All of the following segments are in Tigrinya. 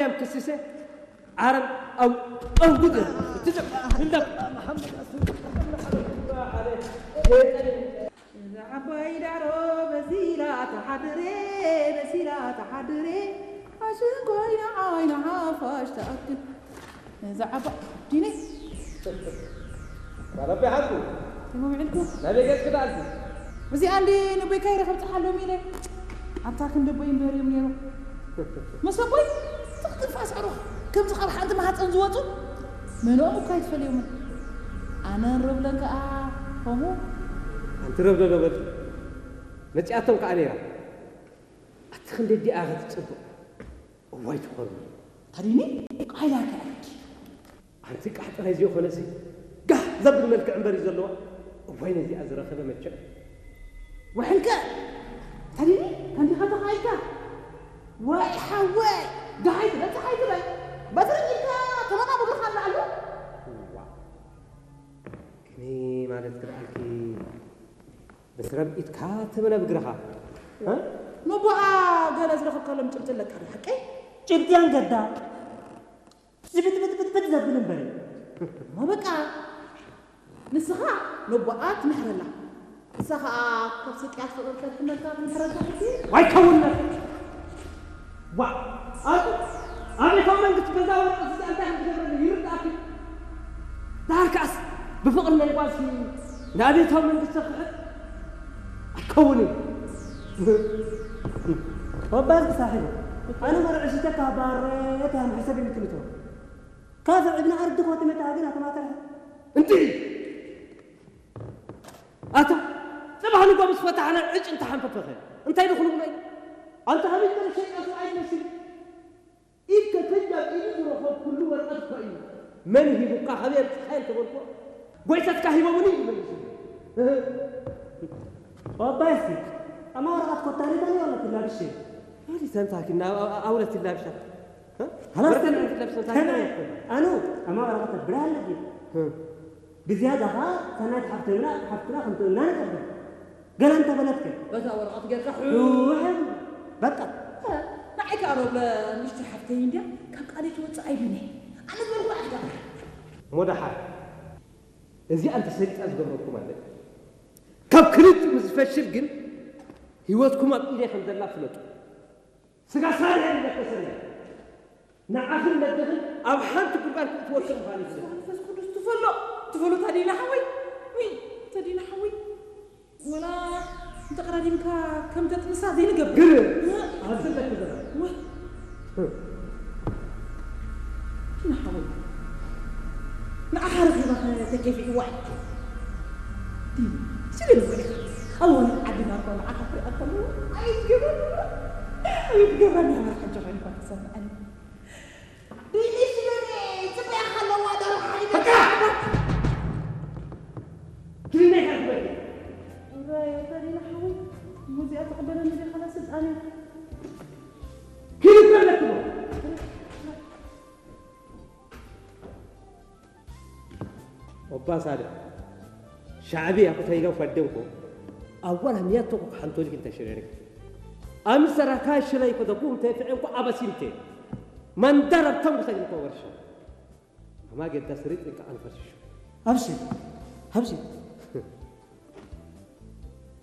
እያም ክስሰ ዓረብ ኣው ኣው ጉድ ትዘ እንዳ ዓባይ ዳሮ በሲላ ተሓድሬ በሲላ ተሓድሬ ሓሽን ኮይና ዓይና ሓፋሽ ተኣክል እዛ ዓባ ዲነ ባለቤ ሓቁ ተመውዕልኩ ናበይ ገጽ ክዳልኩ እዚኣ እንዲ ንቦይካ ይረኸብ ፀሓሎም ኢለ ኣብታ ክንዲ ቦይ እምበር እዮም ነይሩ ምስ ኣቦይ ትኽትፍ ኣስዕሩ ከምዚ ካብ ሓንቲ ማህፀን ዝወፁ መንኦም እኳ ኣይትፈልዮምን ኣነ ንረብለን ከዓ ከምኡ ኣንቲ ረብደዶ በል መፂኣቶም ከዓ ነይራ ኣቲ ክንዲ ዲኣ ክትፅብቕ እዋይ ትኾኑ ታዲኒ ቃይላካ ኣረኪ ኣንቲ ቃሕ ጥራይ ዘይኮነሲ ጋህ ዘብል መልክዕ እምበር እዩ ዘለዋ እዋይ ነዚኣ ዝረኸበ መቸም ወሕንከ ታዲኒ ከንዲኻ ተኻይካ ወይ ሓወይ ደሓይ ትበል ፀሓይ ትበል በትሪ ኢልካ ተመጣ ብግርኻ ኣለዓሉ ግኒ ማለት ክልኣልኪ ብስረብ ኢድካ ተመነ ብግርኻ ነቦኣ ገለ ዝረኸብካሎም ጭብጢ ኣለካ ዶ ሓቀይ ጭብጥያን ገዳ ዝብጥብጥብጥብጥ ዘብል እምበር እዩ። እሞ በቃ ንስኻ ነቦኣ ትምሕረላ ንሳ ኸዓ ካብ ስቅያት ፍቕሪ ከድሕነልካ ትምሕረልካ ሕጂ ኣይከውነት ዋ ኣቱ ኣቤታዊ መንግስቲ ገዛ ወረቀት እዚ እንታይ ከም ትገብረሉ ይርዳእኪ ዳርካስ ብፍቕሪ ናይ ጓልሲ ንኣቤታዊ መንግስቲ ክሕጥ ኣይከውንን ወባዝ ክሳሒቡ ኣነ መርዕሽተካ ባሬት ያም ሕሰብ ይምትልቶ ካብ ዕብና ኣርዲ ኮትመታ ግን ኣተማተረ እንዲ ኣታ ጽባሕ ንጎ ምስ ፈታሕና ዕጭ እንተሓንፈፈኸ እንታይ ድኹን ብሎ ኣንተ ሃቢት ገለ ሸይጣን ሰብኣይ ትመስል ኢድ ከከጃብ ኢዱ ዝረኸብ ኩሉ ወረቐት እኮ እዩ መን ሂቡካ ሃበይ ኣምፅኻዮ እንተበልኮ ጎይታትካ ሂቦምኒ እዩ መሊሱ ወባይሲ ኣማ ወረቐት ኮታሪታ ነው ያለት ላብሽ ሪተንታኪና ኣውለት ይላብሻ خلاص ወረቀት ለብሰ ተመ ኣኑ ኣማ ወረቐት ብራለጊ ብዝያዳ ኸዓ ሰናይት ሓፍተና ሓፍትና ከምትእና ንቀበል ገለ እንተበለትከ በዛ ወረቐት ጌርካ ሕውሕም በቃ ንዓይ ከዓ ሮብለ ምሽቲ ሓፍተይ እንድያ ካብ ቃለይ ትወፅእ ኣይብልኒ ኣነ ዝበልኩ ኣሕዳ ሞዳሓር እዚኣ እንተሰሊጣ ዝገብረኩም ኣለ ካብ ክልቲኡ ምስ ዝፈሽል ግን ህይወትኩም ኣብ ኢደይ ከም ዘላ ፍለጡ ስጋ ሳልሕ ይበከሰለ ንዓኽን ነድኽን ኣብ ሓንቲ ጉድጓድ ክትወስድ ምዃን እዩ መንፈስ ቅዱስ ትፈሎ ትፈሎ ተዲና ሓወይ ዊ ተዲና ሓወይ ወላ እንተቀዳዲምካ ከም ተጥንሳ ዘይንገብር ግን ኣብዚ ለክዘራ ንሓወይ ንዓኻ ረኺባ ተኬፊ እዋይ ስለ ንወደ ኣዋን ዓድና እኮ ንዓኻ ክሪኣ ከለዎ ኣይትገብረኒ ኣይትገብረኒ መርሓጆ ኮይንካ ተሰምዐኒ ኦባሳደ ሻዕብያ ክተይለው ፈደንኮ ኣዋል ህምያቶ ሓንቶልክ እንተሸረርክ ኣምሰራካ ሽለይ ከተኩም ተፍዕንኮ ኣበሲምቴ መንደር ኣብቶም ክሰግንኮ ወርሻ ኣማ ጌዳ ስሪጥ እንካ ኣንፈርሽሹ ኣብሽር ኣብሽር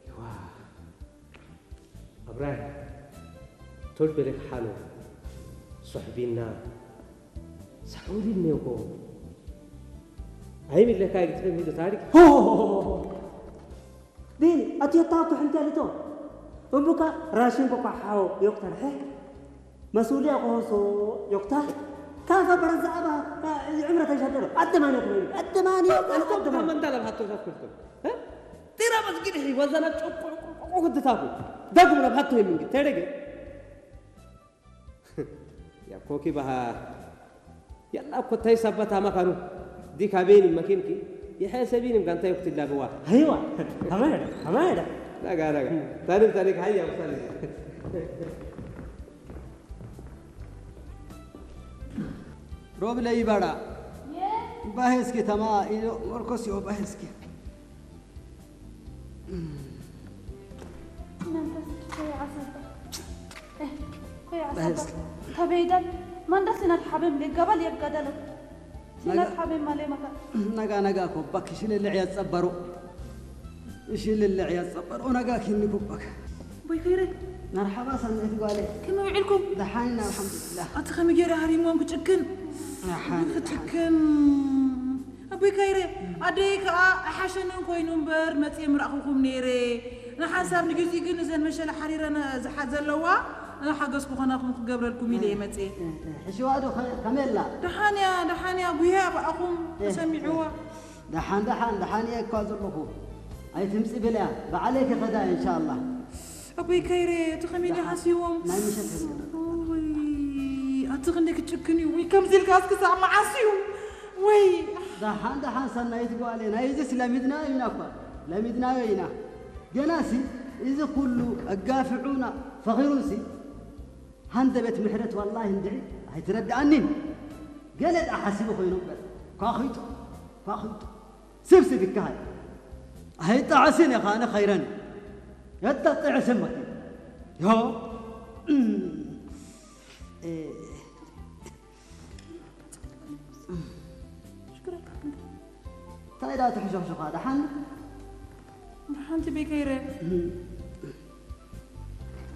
ይዋ ኣብራሂም ቶል በለክ ሓሎ ሶሕቢና ሳዑዲ እኒኦኮ ኣይሚለካ ግጥም ሂዶ ታሪክ ዲን ኣትዮታ ኩሕንተ ልቶ እምቡካ ራሽን ኮኳ ሓው ዮክተር ሕሕ መሱልያ ኮሆሶ ዮክታ ካፈ በረዛ ኣባ ይዕምረ ተሻደሎ ኣደማንዮ ትበሉ ኣደማንዮ ኣደማንዮ መንዳለ ብሃቶ ዛኩልቶ ጢራ መስጊድ ሒ ወዘና ጨቁ ክትታፉ ዳግም ናብ ሃቶ የምንግ ተደገ ያኮኪ ባሃ ያላ ኮታይ ሰበት አማካኑ ዲካ ቤኒ መኪንኪ የሐሰቢንም ጋንታ ዮክት ላብዋ አይዋ አማዳ አማዳ ዳጋ ዳጋ ታሪክ ታሪክ ሀያ ምሳሌ ሮብለ ይባራ ባሄስኪ ተማ ኢሎ ሞርኮስ ዮ ባሄስኪ መንፈስ ቅዱስ ሆይ ዓሰባ ሆይ ዓሰባ ከበይዳል ማንዳ ሲናት ሓበም ሌጋባል የጋዳለ። ሲናት ሓበም ማሌ ማካ። ነጋ ነጋ ኮባክ ሽልልዕ ያጸበሩ። ሽልልዕ ያጸበሩ ነጋ ኪኒ ኮባክ። ቦይ ከይረ። መርሓባ ሰናይት ጓለ። ከመይ ውዒልኩም? ደሓን ኢና፣ ኣልሓምዱሊላህ። ኣቲ ከመይ ገይረ ሃሪሞም ክጭክን? ደሓን፣ ደሓን። ክጭክን። ኣቦይ ካይረ፣ ኣደይ ከኣ ኣይሓሸንን ኮይኑ እምበር መጽየ ምረኣኹኹም ነይረ። ንሓንሳብ ንግዚኡ ግን እዘን መሸለ ሓሪረን ዝሓ-፣ ዘለዋ ሓገዝ ክኾናኹም ክገብረልኩም ኢለ እየ መጽየ። ሕሽዋ ዶ ከ-፣ ከመይ ኣላ? ደሓን እያ፣ ደሓን እያ፣ ጉያ ብኣኹም ተሰሚዕዋ። ደሓን፣ ደሓን፣ ደሓን እየ እኳ ዘለኹ። ኣይትምጺ ብልያ፣ ባዕለይ ክኸዳ እየ ኢንሻኣላህ። ኣቦይ ካይረ፣ እቲ ከመይ ደሓን፣ ደሓስዎም? ናይ ምሸት ህዝቢ። ወይ፣ ኣቲ ክንደይ ክጭክን እዩ። ወይ፣ ከምዚ ኢልካ እስኪ ሳብ መዓስ እዩ? ወይ። ደሓን፣ ደሓን፣ ሰናይት ጓለይ፣ ናይ እዚስ ለሚድናዮ ኢና እኳ። ለሚድናዮ ኢና። ገናሲ፣ እዚ ኩሉ ኣጋፊዑና፣ ፈኺሩንሲ፣ ሃንደበት ምሕረት ዋላሂ እንድዒ ኣይትረድኣኒን። ገለ ደኣ ሓሲቡ ኮይኑ እምበር። ኳኺጡ፣ ኳኺጡ። ስብስብ ይከሃል። ኣይጣዕስን ኢኻ፣ ኣነ ኸይረን። የጣጥዕስን መኪ። ዮ። እ፣ እንታይ ደኣ ትሕሾኽሾኻ? ደሓን? ደሓንቲ ቤከይረ። እም።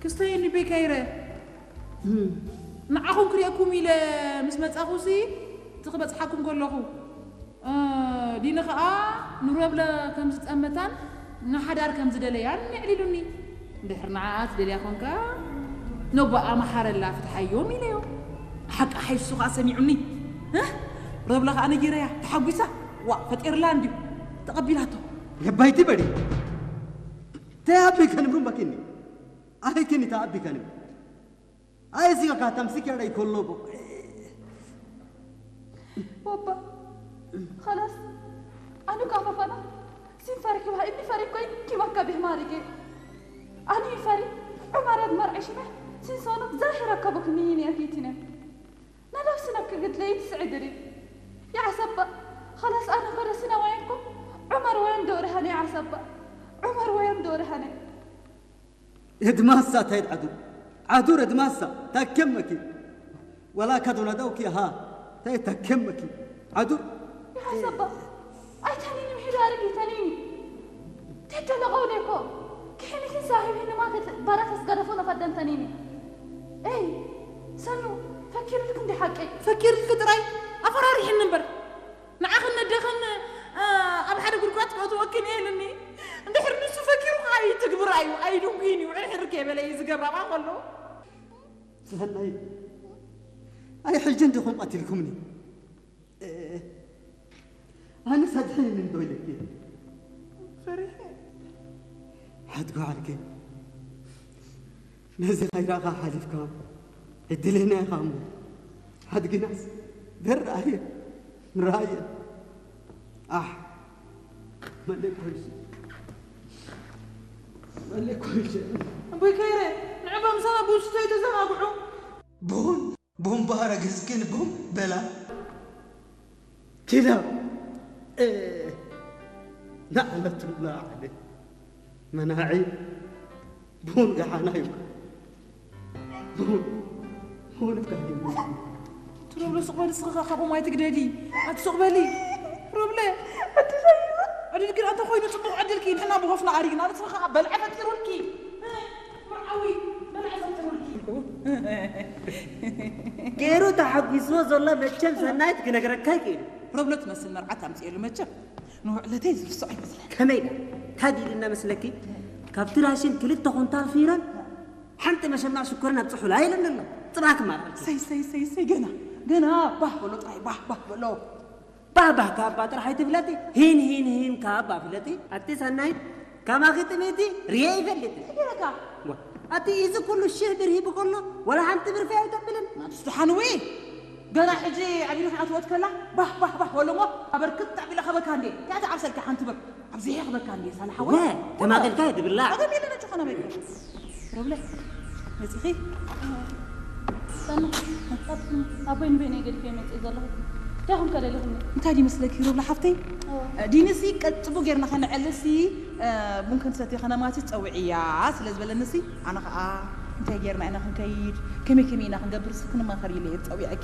ክስተየኒ ቤከይረ። እም። ንዓኹም ክርእየኩም ኢለ ምስ መጻኹሲ፣ እቲ ክበጽሓኩም ከለኹ፣ እ፣ ዲኒ ኸኣ ንሮብለ ከም ዝጠመታን ንሓዳር ከም ዝደለያን የዕሊሉኒ። እንድሕር ንዓኣ ትደልያ ኾንካ፣ ነቦኣ መሓረላ ፍትሓዮም ኢለዮ። ሓቂ ሓይሱ ኸኣ ሰሚዑኒ። እ? ሮብለ ኸኣ ነጊረያ፣ ተሓጒሳ። ዋ፣ ፈጢርላ እንድዩ። ተቐቢላቶ። የባይቲ በዲ። ተያቢ ከንብሩን በኪኒ። ኣይ ክኒ ተኣቢ ከንብ። ኣይ እዚጋ ካታም ሲከራ ይኮሎ ቦ። ወባ፣ خلاص። ኣኑ ካፈፋና ሲን ፈሪክ ባ እኒ ፈሪክ ኮይን ኪባካ ብህማሪጌ። ኣኑ ፈሪ ዑማራት መርዒ ሽመ ሲን ሶኖ ዛሂራ ከቦክ ንይን ያኪትነ። ናዳው ሲናክ ግድለይ ትስዕድሪ። يا عصبة، خلاص أنا خلصنا وينكم؟ عمر وين دورها يا عصبة؟ عمر وين دورها؟ የድማሳ እንታይ ዓዱር? ዓዱር የድማሳ ታከመኪ። ወላ ካዶና ዳውኪ ሃ እንታይ ታከመኪ። ዓዱር። يا عصبة، أي تنيني محيدة عليك تنيني. تدلغوا ليكو. كحيني كن صاحب هنا ما كت برات أسقرفونا فدن تنيني. أي، سنو، فكر لكم دي حقي. فكر لك تراي، أفرار حنن بر. ንዓኽን ነደኽን፣ እ፣ ኣብ ሓደ ጉድጓድ ክእትወክን እየ ኢሉኒ። እንድሕር ንሱ ፈኪሩ ኸዓ ይትግብር ኣዩ፣ ኣይድንጉይን እዩ፣ ዕርሕር ከይበለ እዩ ዝገብራ ከሎ። ሰናይ፣ ኣይ ሕጂ እንዲኹም ቀቲልኩምኒ። እ፣ ኣነስ ኣድሕንኒ እንዶ ኢለኪ። ፈሪሐ። ሓድጎ ዓልኪ። ነዚ ከይረኣኻ ሓሊፍካ ዕድለኛ ኢኻ እሞ ሓድግናስ ደርኣየ ንረኣየ። ኣሕ መለኮይሽ መለኮይሽ ኣቦይ ከይረ ንዕባ ምሳና ብውሽቶ ይተዘናግዑ። ቡን ቡን ባረግዝ ግን ቡን በላ። ኪዳ፣ እ፣ ናዕለቱ ላዕሊ መናዒ ቡን ገሓና እዩ። ቡን፣ ቡን እካ እዩ። ትሮብሎ ሱቕ በሊ፣ ስኽኻ ካብኦም ኣይትግደዲ። ኣቲ ሱቕ በሊ። ሮብለ። ዕድል ግን ኣንተ ኮይኑ ጽቡቕ ዕድልኪ ንሕና ብኾፍና ኣሪግና ንስኻ በልዐ ፈጢሩልኪ። መርዓዊ በልዐ ፈጢሩልኪ። ገይሩ ተሓጒስዎ ዘሎ መቸም ሰናይት ክነግረካ ይክእል። ሮብሎ ትመስል መርዓት ኣምጽኤሉ መቸም ንውዕለተይ ዝርስዖ ኣይመስለን። ከመይ ኢላ? ታዲልና መስለኪ? ካብቲ ራሽን ክልተ ኩንታል ፊረን ሓንቲ መሸማዕ ሽኮርን ኣብ ጽሑላ ኢለን ኣሎ። ጽባሕ ክማርዓልኪ። ሰይ፣ ሰይ፣ ሰይ፣ ሰይ፣ ገና፣ ገና ባህ በሎ ጥራይ፣ ባህ፣ ባህ በሎ። ባህ፣ ባህ፣ ካብ ኣባ ጥራሕ ኣይትፍለጢ። ሂን፣ ሂን፣ ሂን፣ ካብ ኣባ ፍለጢ። ኣቲ ሰናይት፣ ከማኺ ጥሜቲ ርየ ይፈልጥ። ይገረካ። ዋ፣ ኣቲ እዚ ኩሉ ሽህ ብር ሂቡ ከሎ፣ ወላ ሓንቲ ብር ፍያ ኣይተብልን። ናትስ ደሓን ወይ? ገና ሕጂ ኣብ ኢዱ ክትኣትወት ከላ፣ ባህ፣ ባህ፣ ባህ፣ በሎ እሞ፣ ኣበርክት ኣቢለ ከበካ እንዴ። እንታይ ትዓብሰልካ ሓንቲ ብር? ኣብዚ ይኽበካ እንዴ ሳላ ሓወይ። ወ፣ ተማቒልካ ድብላ። ኣገም የለ ነጭ ኾነ በል። ሮብለ፣ መጺኺ? ሰና፣ ኣቦይ ንበይነይ ገዲፈ መጺእ ዘለኹ። እንታይ ኹም ከደሊኹኒ? እንታይ ድዩ መስለኪ ሮብለ ሓፍተይ? እዎ። ዲንሲ ቀጥ ጽቡቕ ጌርና ከነዕልሲ፣ እ፣ ቡን ክንሰቲ ከነማቲ ጸውዕያ ስለ ዝበለንሲ፣ ኣነ ኸኣ እንታይ ጌርና ኢና ክንከይድ፣ ከመይ ከመይ ኢና ክንገብር ስ ክንማኸር ኢለ እየ ጸዊዐኪ።